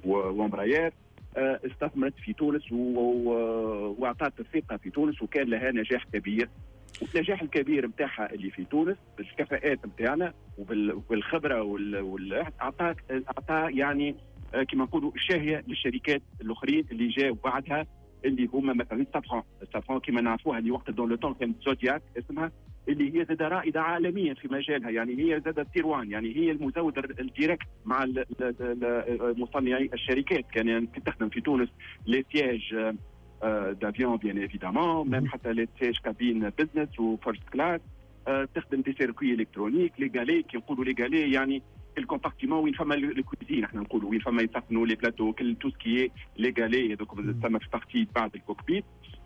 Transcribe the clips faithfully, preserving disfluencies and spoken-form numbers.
وامبراير استثمرت في تونس واعطت الثقة في تونس، وكان لها نجاح كبير. والنجاح الكبير نتاعها اللي في تونس بالكفاءات نتاعنا وبالخبره وال اعطاك اعطى يعني كما نقولوا شاهيه للشركات الاخرين اللي جاوا بعدها، اللي هما مثلا سافران. سافران كما نعرفوها اللي وقت dans le temps كانت زودياك اسمها، اللي هي زاد رائدة عالميا في مجالها، يعني هي زاد tier one، يعني هي المزود ال direct مع مصنعي الشركات. كان يعني تخدم في تونس les sièges d'avion bien évidemment، même حتى les sièges cabine business و first class، تخدم des circuits électroniques، les galets. كي نقولوا les galets يعني ال compartiment وين فما ال cuisine، احنا نقولوا وين فما يسخنوا les plateaux، كل tout ce qui est les galets هذوك تسمى في partie بعد ال cockpit،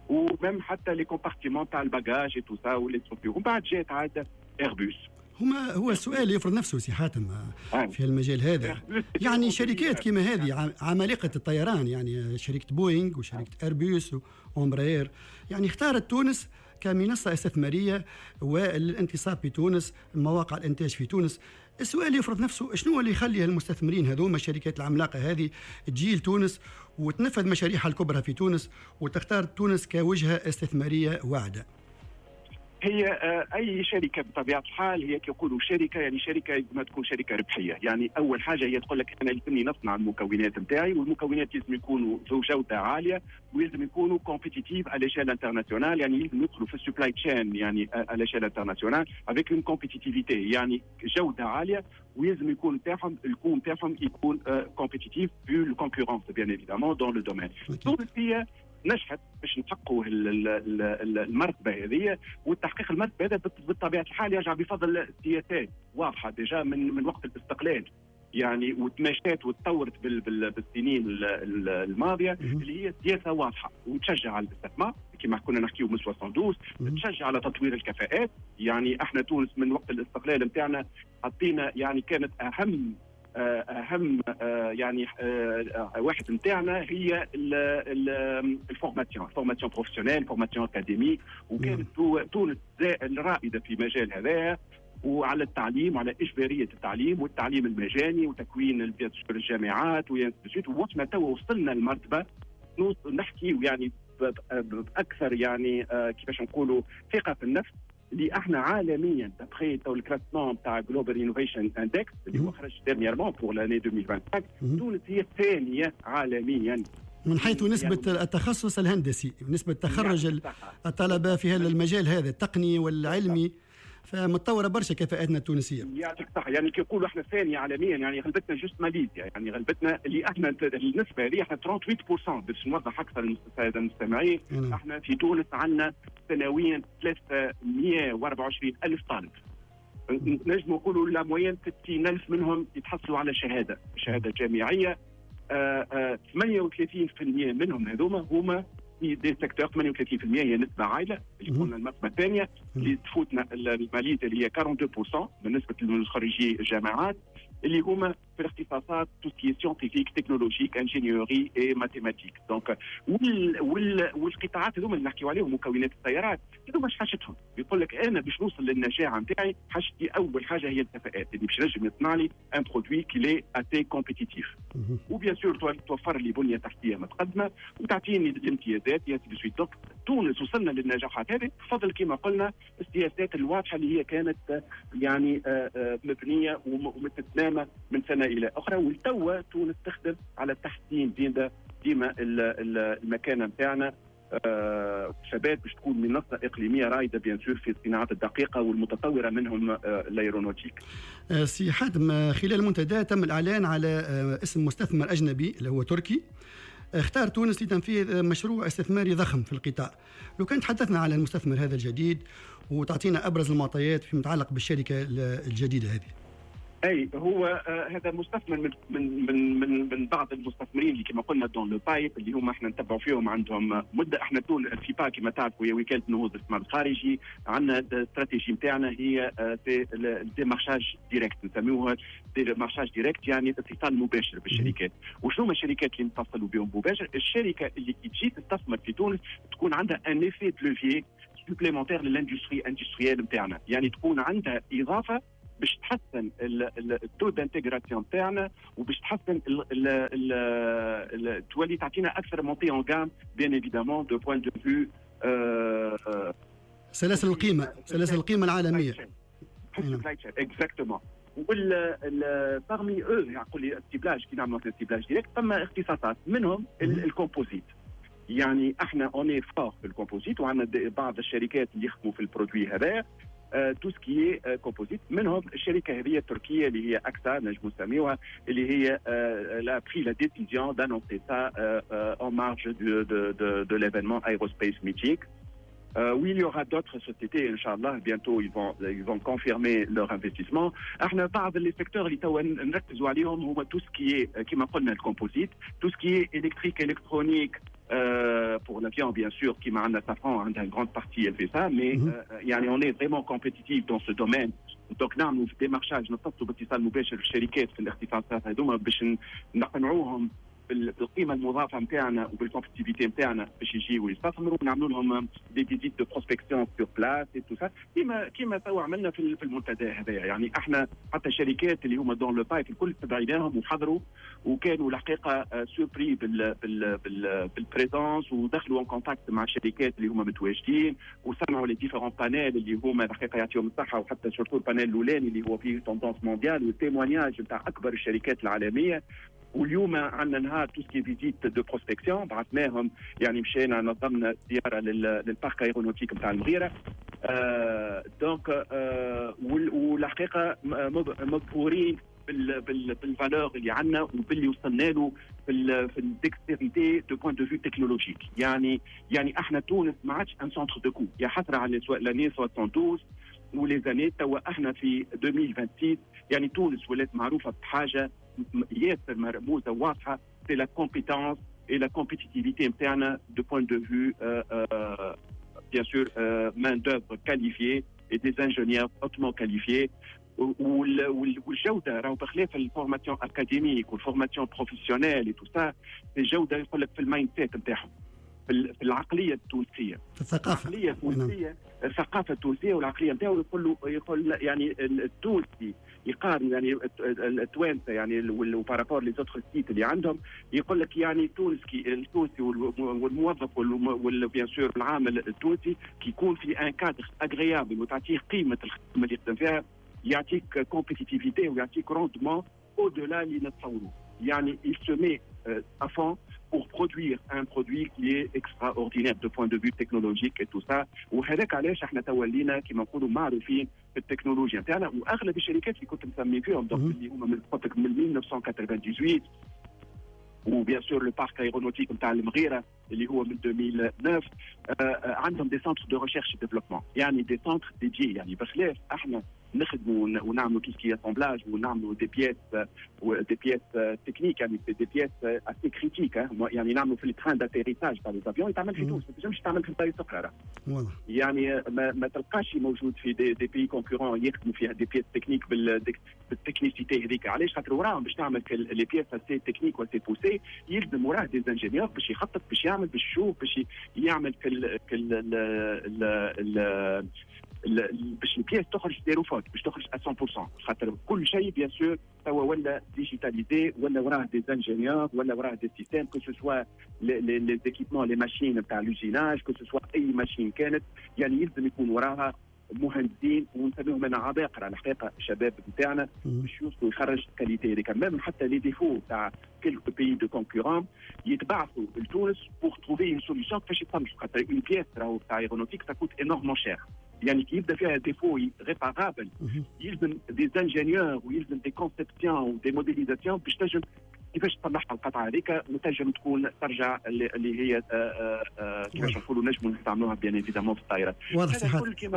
و même حتى les compartiments تاع ال bagages et tout ça و les. ومن بعد جات عاد ايربوس. هما هو السؤال يفرض نفسه سي حاتم في المجال هذا، يعني شركات كما هذه عمالقة الطيران، يعني شركة بوينغ وشركه ايربوس وامبراير، يعني اختارت تونس كمنصه استثمارية والانتصاب في تونس، مواقع الانتاج في تونس. السؤال يفرض نفسه، شنو اللي يخلي المستثمرين هذوما، الشركات العملاقة هذه، تجي لتونس وتنفذ مشاريعها الكبرى في تونس وتختار تونس كوجهه استثمارية واعده؟ هي آه، اي شركة بطبيعة الحال هي كيقولوا شركه، يعني شركة ما تكون شركة ربحيه، يعني اول حاجة هي تقول لك انا لازمني نصنع المكونات نتاعي، والمكونات لازم يكونوا ذو جوده عالية ولازم يكونوا compétitifs à l'échelle internationale، يعني لازم يدخلوا في ال supply chain يعني à l'échelle internationale avec une compétitivité، يعني جوده عالية ولازم يكون نتاعهم ال coût نتاعهم يكون compétitif vu la concurrence bien évidemment dans le domaine. تونس هي نجحت باش نحققوا المرتبة هذه، والتحقيق المرتبة هذا بطبيعة الحال يرجع بفضل سياسات واضحة déjà من من وقت الاستقلال، يعني وتماشات وتطورت بالسنين الماضيه، اللي هي سياسة واضحة وتشجع على الاستثمار كما كنا نحكيو من اثنين وستين، تشجع على تطوير الكفاءات. يعني احنا تونس من وقت الاستقلال نتاعنا حطينا، يعني كانت اهم آه، اهم آه، يعني آه، واحد نتاعنا هي ال formation، formation professionnelle، formation académique، وكانت تونس الرائدة في مجال هذا، وعلى التعليم وعلى اجباريه التعليم والتعليم المجاني وتكوين الجامعات. وصلنا توا وصلنا لمرتبه نحكي يعني باكثر يعني كيفاش نقولوا ثقة في النفس، اللي احنا عالميا d'après تو ال classement تاع Global Innovation Index اللي هو خرج dernièrement pour l'année ألفين وخمسة وعشرين، تونس هي الثانية عالميا. من حيث نسبة يعني التخصص الهندسي، نسبة تخرج يعني الطلبة في هذا المجال هذا التقني والعلمي، فمتطوره برشا كفاءاتنا التونسيه. يعطيك الصحه، يعني كي يقولوا احنا ثانية عالميا يعني غلبتنا juste ماليزيا، يعني غلبتنا اللي احنا النسبة هذه احنا ثمانية وثلاثين في المية. باش نوضح اكثر للسادة المستمعين، نعم. احنا في تونس عندنا سنويا ثلاثمية وأربعة وعشرين الف طالب، نجم نقولوا la moyenne ستين ألف منهم يتحصلوا على شهادة شهادة جامعية. آه آه ثمانية وثلاثين في المية منهم هذوما هما في des secteurs، ثمانية وثلاثين في المية هي نسبه عاليه، اللي قلنا المرتبة الثانية اللي تفوتنا الماليزيا اللي هي اثنين وأربعين في المية بالنسبة للخريجي الجامعات، اللي هما في الاختصاصات tout ce qui est scientifique، technologique، ingénierie et mathématiques. donc وال وال والقطاعات هذوما اللي نحكيو عليهم، مكونات السيارات هذوما، اش حاجتهم؟ يقول لك انا باش نوصل للنجاعه نتاعي حاجتي اول حاجة هي الكفاءات اللي باش نجم يصنع لي un produit qui est assez compétitif، و bien sûr توفر لي بنيه تحتيه متقدمة وتعطيني الامتيازات et ainsi de suite. donc تونس وصلنا للنجاحات هذه بفضل كما قلنا السياسات الواضحة اللي هي كانت يعني آه، آه، مبنية ومتتنامى من سنة الى اخرى. والتوا تونس تخدم على تحسين ديما ديما المكانة نتاعنا آه شباب باش تكون منصة اقليمية رائدة bien sûr في الصناعات الدقيقة والمتطوره منهم آه l'aéronautique. آه سي حاتم، خلال المنتدى تم الاعلان على آه اسم مستثمر اجنبي اللي هو تركي اختار تونس لتنفيذ مشروع استثماري ضخم في القطاع. لو كان تحدثنا على المستثمر هذا الجديد وتعطينا ابرز المعطيات فيما يتعلق بالشركة الجديدة هذه. اي، هو آه هذا مستثمر من من من من, من بعض المستثمرين اللي كما قلنا dans le pipe، اللي هما احنا نتبعوا فيهم عندهم مده. احنا تون فيبا كما تعرفوا هي وكالة نهوض الاستثمار الخارجي، عندنا الاستراتيجية نتاعنا هي ال démarchage direct، نسميوها démarchage direct، يعني اتصال مباشر بالشركات. وشنو هما الشركات اللي نتصلوا بهم مباشر؟ الشركة اللي كي تجي تستثمر في تونس تكون عندها un effet de levier supplémentaire لل industrie industrielle نتاعنا، يعني تكون عندها اضافه باش تحسن ال taux d'intégration تاعنا وباش تحسن ال ال ال تولي تعطينا اكثر montée en gamme bien évidemment de point de vue سلاسل القيمه، سلاسل القيمة العالميه. exactement. وال parmi eux يقول لي ال ciblage، كي نعملوا ال ciblage direct ثم اختصاصات منهم ال composite. يعني احنا on est fort في ال composite وعندنا بعض الشركات اللي يخدموا في ال produit هذا، tout ce qui est composite. منهم الشركة هذه التركية اللي هي اكسا نجم نسميوها، اللي هي elle a pris la décision d'annoncer ça en marge de, de, de, de l'événement Aerospace Meeting. Euh, oui, il y aura d'autres sociétés, إن شاء الله, bientôt ils vont, ils vont confirmer leur investissement. احنا بعض les secteurs اللي توا نركزوا عليهم هو tout ce qui est كما قلنا ال composite، tout ce qui est électrique، électronique euh, pour l'avion bien sûr. كيما عندنا Safran عندها une grande partie، elle fait ça، mais mm -hmm. euh, يعني on est vraiment compétitif dans ce domaine. donc نعملوا في démarchage، نتصلوا باتصال مباشر بالشركات في الاختصاصات هذوما باش نقنعوهم بالقيمة المضافة نتاعنا وبال compétitivité نتاعنا باش يجيو يستثمروا. نعملوا لهم des visites de prospection sur place et tout ça، كيما كيما توا عملنا في في المنتدى هذايا. يعني احنا حتى الشركات اللي هما dans le pipe الكل استدعيناهم وحضروا وكانوا الحقيقة surpris بال بال بال بال présence ودخلوا en contact مع الشركات اللي هما متواجدين وسمعوا les différents panels اللي هما الحقيقة يعطيهم الصحه، وحتى surtout ال panel الاولاني اللي هو فيه tendance mondiale وال témoignages نتاع اكبر الشركات العالميه. واليوم عندنا نهار tout ce qui est visite de prospection، بعثناهم، يعني مشينا نظمنا زيارة لل parc aéronautique نتاع المغيره. آه donc آه والحقيقة مبهورين بال valeur اللي عندنا وباللي وصلنا له في في ال dextérité de point de vue technologique. يعني يعني احنا تونس ما عادش un centre de coût، يا حسرة على l'année soixante-douze و les années. توا احنا في ألفين وستة وعشرين، يعني تونس ولات معروفة بحاجة ياسر مرموزه واضحه، c'est la compétence et la compétitivité نتاعنا de point de vue bien sûr main d'œuvre qualifiée et des ingénieurs hautement qualifiés. والجودة راهو بخلاف ال formation académique وال formation professionnelle et tout ça، الجودة يقول لك في ال mindset نتاعهم، في العقلية التونسيه. في الثقافه. العقلية التونسيه، الثقافة التونسية والعقلية نتاعو. يقول له يقول يعني التونسي يقارن يعني التوانسة يعني و par rapport les autres sites اللي عندهم، يقول لك يعني تونس كي التونسي والموظف و bien sûr العامل التونسي كي يكون في un cadre agréable وتعطيه قيمة الخدمة اللي يخدم فيها، يعطيك compétitivité ويعطيك rendement au-delà اللي نتصوروه. يعني il se met à fond pour produire un produit qui est extraordinaire de point de vue technologique et tout ça. وهذاك علاش احنا تولينا كما نقولوا معروفين في التكنولوجيا نتاعنا. واغلب الشركات اللي كنت مسمي فيهم، donc اللي هما من قلت من ألف وتسعمية وثمانية وتسعين و bien sûr le parc aéronautique نتاع المغيرة اللي هو من ألفين وتسعة، آه عندهم des centres de recherche développement، يعني des centres dédiés. يعني بخلاف احنا نخدموا ونعملوا tout ce qui est assemblage ونعملوا des pièces des pièces techniques، يعني des pièces assez critiques، يعني نعملوا في ال train d'atterrissage تاع les avions يتعمل في تونس، ما تنجمش تعمل في بلايص اخرى. يعني ما, ما تلقاش موجود في des, des pays concurrents يخدموا فيها des pièces techniques بال technicité هذيك. علاش؟ خاطر وراهم باش تعمل les pièces assez techniques و assez poussées يلزم وراه des ingénieurs باش يخطط، باش يعمل، باش يشوف، باش يعمل كل كل باش ال pièce تخرج zéro faute، باش تخرج مية بالمية، خاطر كل شيء bien sûr توا ولا digitalisé، ولا وراه des ingénieurs، ولا وراه des systèmes، que ce soit les équipements، les machines نتاع l'usinage، que ce soit اي machine كانت، يعني يلزم يكون وراها مهندسين ونسميهم انا عباقره الحقيقه، الشباب نتاعنا باش يوصلوا يخرج qualité هذيك. même حتى les défauts تاع quelques pays de concurrents يتبعثوا لتونس pour trouver une solution كيفاش يتصلحوا، خاطر une pièce راهو تاع aéronautique ça coûte énormément cher. يعني كي يبدا فيها défaut réparable يلزم des ingénieurs ويلزم des conceptions و des modélisations باش تنجم كيفاش تصلحها القطعة هذيك وتنجم تكون ترجع اللي هي آه، آه، آه، كيفاش نقولوا نجموا نستعملوها bien évidemment في الطائرات. واضح. كل كما